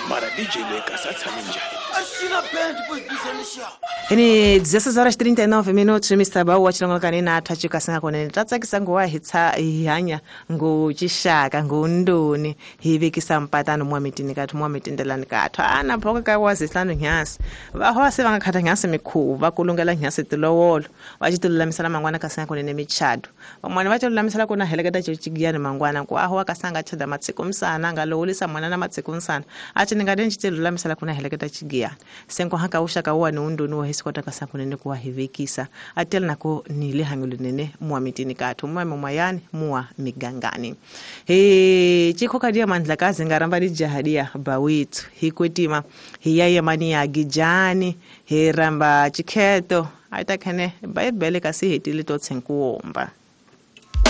Mara DJ leyi kasi a tshame njhani? Ini 16 horas 39 minutos Mr. Bawu wa chilongo kanina athu kasinga konene tatsakisa nguwa hitsa hanya nguchishaka ngundoni hivekisa mpatano mwa mitini kathu mwa mitindelani kathu ana phoka ka wazihlanu nyasi vahosi va nga khata nyasi mikhuva kulungela nyasi tilowolo va ci tilulamisela mangwana kasinga konene michado van'wana va tilulamisela ku na heleketa cicigiyani mangwana ku aho akasanga chada matsiko msana nga lowulisa mwana na matsiko msana aci ni nga den ci tilulamisela ku na heleketa cigiyani senko haka uxaka wani undoni wa hisikota kasankunene kuwa hivekisa atela nako ni lihanyo linene muwa mitini kathu muwa mimayani muwa migangani he chikhokadia mandlakazi ngaramba lijahadia bawithu hikwetima hiyayemani ya gijani hiramba chikheto aitakhene baibele kasi hetile to tshenkuwomba.